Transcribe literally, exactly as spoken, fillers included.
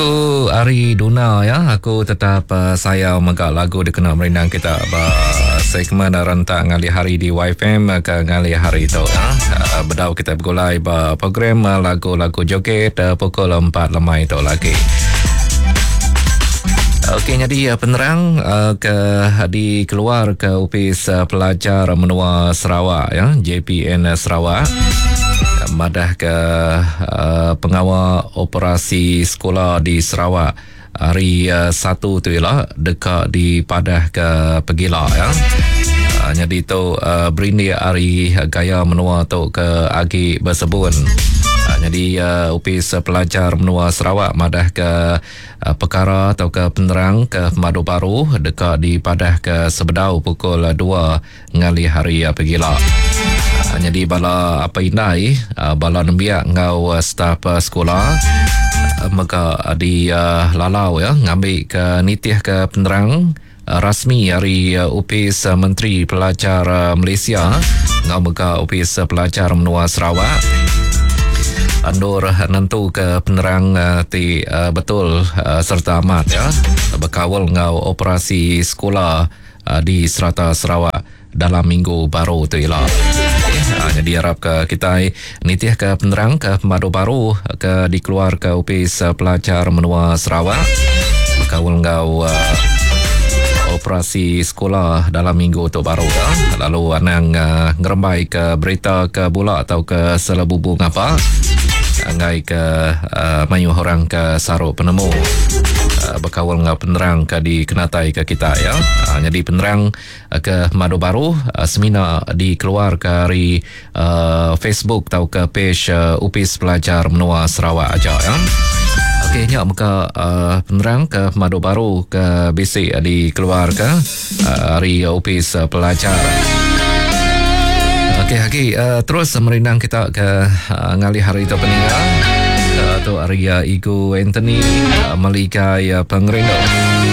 Lagu ari Duna ya, aku tetap uh, sayau mega lagu dikena merindang kita ba segmen rentak ngalih hari di Y F M ke ngalih hari tu ya. Uh, bedau kita bergulai ba program uh, lagu-lagu joget uh, pukul empat lemai tu lagi. Okey, jadi penerang uh, ke dikeluar ke Opis Pelajar Menua Sarawak ya, J P N Sarawak, madah ke uh, pengawal operasi sekolah di Sarawak hari uh, satu tu ialah dekat di padah ke Pegila ya. Uh, jadi tu uh, berindik hari gaya menua tu ke agi bersebun. Uh, jadi uh, Opis Pelajar Menua Sarawak madah ke uh, perkara atau ke penerang ke Madu Baru dekat di padah ke sebedau pukul dua ngalih hari uh, Pegila. Uh, jadi bala apa indai, uh, bala nembiak ngau uh, staf uh, sekolah uh, mega di uh, lalau ya ngambil ke nitih ke penerang uh, rasmi hari uh, Opis uh, Menteri Pelajar uh, Malaysia ngau mega Opis Pelajar Menua Sarawak andur nentu ke penerang uh, ti uh, betul uh, serta amat ya berkawal ngau operasi sekolah uh, di serata Sarawak dalam minggu baru tu ialah. Okay. Ha, jadi harap ke kita nitih ke penerang ke pemadu baru ke dikeluar ke Opis Pelajar Menua Sarawak berkawal ngau uh, operasi sekolah dalam minggu tu baru ya. Lalu anang uh, ngerembai ke berita ke bola atau ke selebubu ngapa angai ke uh, mayu orang ke saruk penemu uh, berkawal ngau penerang ke dikenatai ke kita ya. Uh, jadi penerang uh, ke madu baru uh, semina dikeluar ke hari uh, Facebook atau ke page uh, Opis Pelajar Menua Sarawak aja ya. Okey, nyak muka uh, penerang ke madu baru ke bisik dikeluar ke uh, hari Opis Pelajar. Okey, lagi uh, terus merindang kita ke uh, ngalih hari itu peninggal. Uh, tu hari uh, Igu Anthony uh, Malikai uh, Pengerindu.